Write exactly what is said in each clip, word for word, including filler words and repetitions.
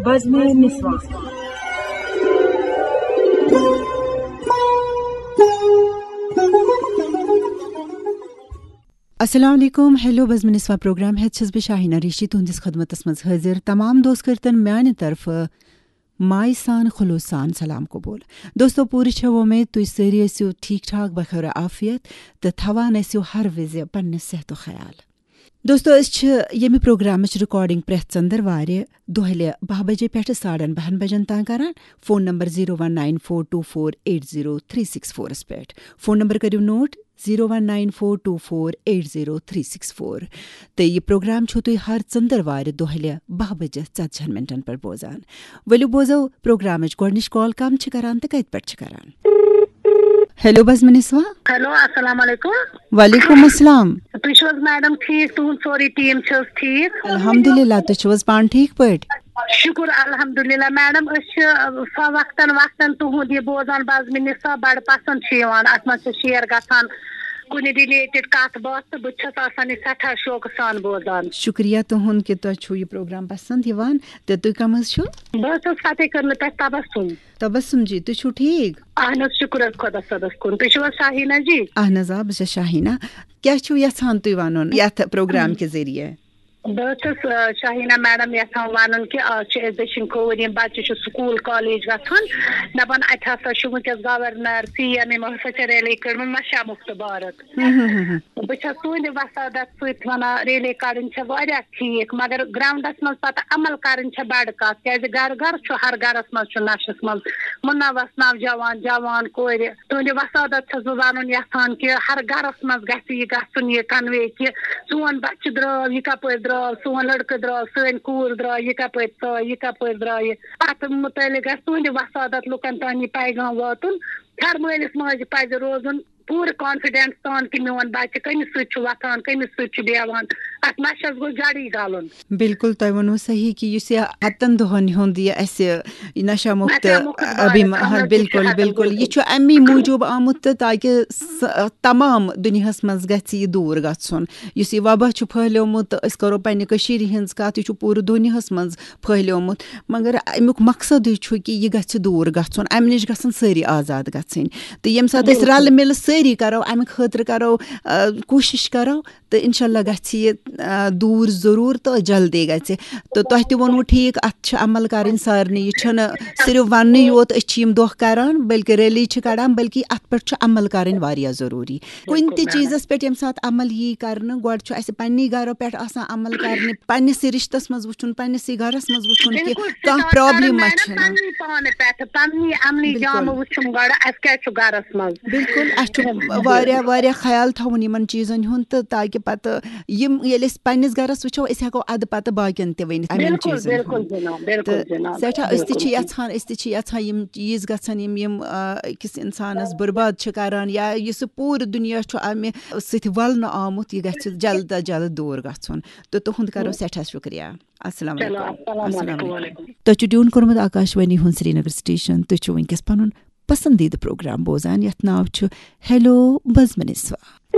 بزمِ نسواں۔ السلام علیکم، ہیلو بزمِ نسواں پروگرام ہیتھ چھس بہٕ شاہینہ ریشی تُہنٛدِس خدمتس منٛز حٲضِر۔ تمام دوست کٔرتن میانہِ طرفہٕ مایہِ سان خلوص سان سلام قبول۔ دوستو، پوٗرٕ چھےٚ وۄمید تُہۍ سٲری ٲسِو ٹھیٖک ٹھاک بخیر عافیت تہٕ تھاوان ٲسِو ہر وِزِ پننہِ صحتُک خیال۔ دوستو، أسۍ چھِ ییٚمہِ پروگرامٕچ ریکارڈنگ پرٛٮ۪تھ ژٔنٛدٕروارِ دۄہلہِ باہ بجے پٮ۪ٹھٕ ساڑن باہن بجن تام کران۔ Phone number zero one nine four two four eight zero three six فورس پٮ۪ٹھ۔ فون نمبر کٔرِو note, zero one nine four two four eight zero three six four. تہٕ یہِ پروگرام چھِو تُہۍ ہر ژٔنٛدٕروارِ دۄہلہِ باہ بجے ژتجہن منٹن پٮ۪ٹھ بوزان۔ ؤلِو بوزو پروگرامٕچ گۄڈٕنِچ کال کم چھِ کران تہٕ کتہِ پٮ۪ٹھ چھِ کران۔ ہیلو بزمِ نسواں۔ ہیلو، السلام علیکم۔ وعلیکم السلام۔ تُہۍ چھِو حظ میڈم ٹھیٖک؟ تُہُنٛد سورُے ٹیٖم چھِ حظ ٹھیٖک؟ الحمدللہ، تُہۍ چھِو حظ پانہٕ ٹھیٖک پٲٹھۍ؟ شُکُر الحمدللہ۔ میڈم، أسۍ چھِ، آ، سۄ وقتاً وقتاً تُہُنٛد یہِ بوزان، بزمِ نسواں بڑٕ پسنٛد چھِ یِوان۔ اَتھ منٛز چھِ شیئر گژھان کُنہِ ریلیٹڈ کتھ باتھ تہٕ بہٕ تہِ چھَس آسان یہِ سٮ۪ٹھاہ شوقہٕ سان بوزان۔ شُکریہ تُہُنٛد کہِ تۄہہِ چھُو یہِ پروگرام پسنٛد یِوان۔ تہٕ تُہۍ کم حظ چھِو؟ بہٕ حظ چھَس فتح کرنہٕ پٮ۪ٹھ تبسم۔ تبسم جی، تُہۍ چھِو ٹھیٖک؟ اہن حظ، شُکر حظ خۄدا صٲبَس کُن۔ تُہۍ چھِو حظ شاہیٖنا جی؟ اہن حظ، آ، بہٕ چھَس شاہیٖنا۔ کیٛاہ چھِو یژھان تُہۍ وَنُن یَتھ پروگرام کہِ ذٔریعہٕ؟ بہٕ حظ چھَس، آ، شاہیٖنا میڈم یژھان وَنُن کہِ آز چھِ أسۍ دٔچھِنۍ کھووُر، یِم بَچہِ چھِ سکوٗل کالج گژھان، دَپان اَتہِ ہسا چھُ وٕنکیٚس گورنر، سی ایم، یِمو ہسا چھِ ریلی کٔڑمٕژ نشہ مُکت بھارت۔ ہم، ہم، ہم، ہم۔ بہٕ چھَس تُہٕنٛدِ وسادت سۭتۍ وَنان، ریلی کَڑٕنۍ چھےٚ واریاہ ٹھیٖک، مگر گراؤنڈَس منٛز پَتہٕ عمل کَرٕنۍ چھےٚ بَڑٕ کَتھ، کیٛازِ گَرٕ گَرٕ چھُ، ہر گَرَس منٛز چھُ نَشَس منٛز مُلوث نوجوان، جوان، کورِ۔ تُہٕنٛدِ وسادت چھَس بہٕ وَنُن یَژھان کہِ ہر گَرَس منٛز گژھِ یہِ گژھُن، یہِ کنوے کہِ سون بَچہٕ درٛاو، یہِ کَپٲرۍ درٛاو، سون لٔڑکہٕ درٛاو، سٲنۍ کوٗر درٛاو، یہِ کَپٲرۍ ژاے، یہِ کَپٲرۍ درٛایہِ۔ اَتھ مُتعلِق گژھِ تُہٕنٛدِ وسادت لُکَن تام یہِ پیغام واتُن۔ ہر مٲلِس ماجہِ پَزِ روزُن پوٗرٕ کانفیڈنس سان کہِ میون بچہِ کٔمِس سۭتۍ چھُ وۄتھان، کٔمِس سۭتۍ چھُ بیٚہوان، اتھ نشس گوٚژھ جڑٕے گلُن۔ بِلکُل، تۄہہِ ووٚنوٕ صحیح کہِ یُس یہِ ہتن دۄہن ہُنٛد یہِ اسہِ یہِ نشہ مُکت نشہ مُکت ابھیان، بھارت، ہاں، عمل چھُ بِلکُل، ہتن بِلکُل۔ دۄہن۔ یہِ چھُ امی موٗجوٗب آمُت تہٕ تاکہِ س-، تمام دُنیاہس منٛز گژھِ یہِ دوٗر گژھُن۔ یُس یہِ وبا چھُ پھٔہلیومُت تہٕ أسۍ کرو پننہِ کٔشیٖرِ ہٕنٛز کتھ، یہِ چھُ پوٗرٕ دُنیاہس منٛز پھٔہلیومُت، مگر امیُک مقصدٕے چھُ کہِ یہِ گژھِ دوٗر گژھُن، امہِ نِش گژھن سٲری آزاد گژھٕنۍ۔ تہٕ ییٚمہِ ساتہٕ أسۍ بِلکُل۔ رلہٕ مِلہٕ سٲری کرو، امہِ خٲطرٕ کرو، آ، کوٗشِش کرو، تہٕ انشاءاللہ گژھِ یہِ، آ، دوٗر ضروٗر تہٕ جلدی گژھِ۔ تہٕ تۄہہِ تہِ ووٚنوٕ ٹھیٖک، اتھ چھِ عمل کرٕنۍ سارنٕے۔ یہِ چھُنہٕ صرف وننٕے یوت أسۍ چھِ یِم دۄہ کران، بلکہِ ریلی چھِ کڑان، بلکہِ اتھ پٮ۪ٹھ چھُ عمل کرٕنۍ واریاہ ضروٗری۔ کُنہِ تہِ بِلکُل، چیٖزس پٮ۪ٹھ ییٚمہِ ساتہٕ عمل یی کرنہٕ، گۄڈٕ چھُ اسہِ پننی گرو پٮ۪ٹھ آسان عمل کرنہِ، پننِسٕے رشتس منٛز وٕچھُن، پننِسٕے گرس منٛز وٕچھُن کہِ بِلکُل، کانٛہہ سٹارٹ کرُن پرابلم ما میڈم چھنہٕ۔ پننی پانہٕ پٮ۪ٹھٕ، پننی عملی بِلکُل۔ جامہٕ وٕچھُن گۄڈٕ، اسہِ کیٛاہ چھُ گرس منٛز۔ بِلکُل، اسہِ چھُ واریاہ، واریاہ خیال تھاوُن یِمن چیٖزن ہُنٛد تہٕ تاکہِ پتہٕ یِم، ییٚلہِ أسۍ پننِس گرس وٕچھو، أسۍ ہٮ۪کو ادٕ پتہٕ باقین تہِ ؤنِتھ یِمن بِلکُل، چیٖزن بِلکُل ہُنٛد۔ جناب، بِلکُل تہٕ جناب، سٮ۪ٹھاہ، أسۍ تہِ چھِ بِلکُل۔ یژھان، أسۍ تہِ چھِ یژھان یِم چیٖز گژھن، یِم، یِم، آ، أکِس انسانس برباد چھِ کران یا یُس سُہ پوٗرٕ دُنیا چھُ امہِ سۭتۍ ولنہٕ آمُت، یہِ گژھِ جلد از جلد دوٗر گژھُن۔ تہٕ تُہُنٛد کرو سٮ۪ٹھاہ شُکریہ۔ السلام چلو، علیکم۔ السلام السلام علیکم، علیکم۔ وعلیکم۔ تۄہہِ چھُ ٹیون کوٚرمُت آکاشوانی ہُنٛد سرینگر سٹیشن۔ تُہۍ چھِو وٕنکیٚس پنُن پسندیدٕ پروگرام بوزان، یتھ ناو چھُ ہیلو بزمِ نسواں۔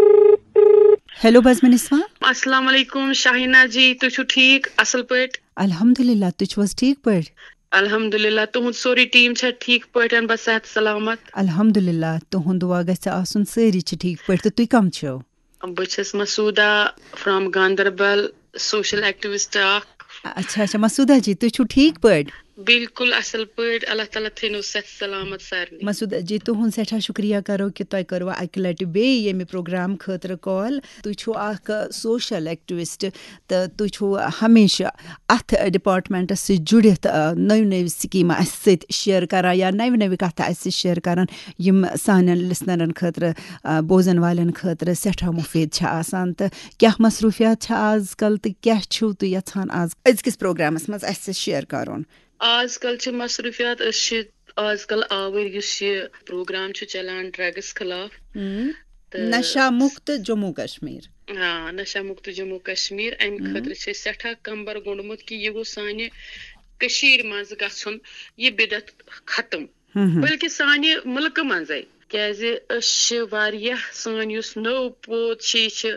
ہیلو بزمِ نسواں۔ السلام علیکم شاہینا جی، تُہۍ چھِو ٹھیٖک، اصل پٲٹھۍ؟ الحمدللہ، تُہۍ چھِو حظ ٹھیٖک پٲٹھۍ؟ الحمدللہ، تُہُنٛد سورُے ٹیٖم چھا ٹھیٖک پٲٹھۍ، بس صحت سلامت؟ الحمدللہ، تُہُنٛد دُعا گژھِ آسُن، سٲری چھِ ٹھیٖک پٲٹھۍ۔ تہٕ تُہۍ کم چھِو؟ بہٕ چھَس مسعوٗدہ from گاندربل، سوشل ایکٹیوسٹ اکھ۔ اچھا، اچھا، مسعوٗدہ جی، تُہۍ چھِو ٹھیٖک پٲٹھۍ؟ بِلکُل اَصٕل پٲٹھۍ، اللہ تعالیٰ تھٲینو صحت سلامت سارنٕے۔ مسعوٗدہ جی، تُہُنٛد سٮ۪ٹھاہ شُکریہ کرو کہِ تۄہہِ کٔروٕ اَکہِ لَٹہِ بیٚیہِ ییٚمہِ پروگرام خٲطرٕ کال۔ تُہۍ چھِو اکھ سوشل ایکٹیوسٹ تہٕ تُہۍ چھِو ہمیشہِ اَتھ ڈپارٹمنٹس سۭتۍ جُڑِتھ، آ، نٔوۍ نٔوۍ سکیٖمہٕ اَسہِ سۭتۍ شیئر کران یا نَوِ نَوِ کَتھٕ اَسہِ سۭتۍ شیئر کران، یِم سانٮ۪ن لسنرن خٲطرٕ، آ، بوزن والٮ۪ن خٲطرٕ سٮ۪ٹھاہ مُفیٖد چھِ آسان۔ تہٕ کیٛاہ مصروٗفیات چھِ آز کل تہٕ کیٛاہ چھِو تُہۍ یژھان آز أزکِس پروگرامس منٛز اَسہِ سۭتۍ شیئر کرُن؟ آز کل چھِ مصروٗفیات، أسۍ چھِ آز کل آوٕرۍ، یُس یہِ پروگرام چھُ چلان ڈرگس خلاف۔ ہم۔ تہٕ نشہ مُکت جموں کشمیر۔ آ، نشہ مُکت جموں کشمیر، اَمہِ ہم۔ خٲطرٕ چھِ أسۍ سٮ۪ٹھاہ کمبر گوٚنڈمُت کہِ یہِ گوٚژھ سانہِ کٔشیٖرِ منٛز گژھُن، یہِ بدعت ختم۔ ہم ہم۔ بلکہِ سانہِ مُلکہٕ منٛزے، کیٛازِ أسۍ چھِ واریاہ، سٲنۍ یُس نٔو پوٗد چھِ، یہِ چھِ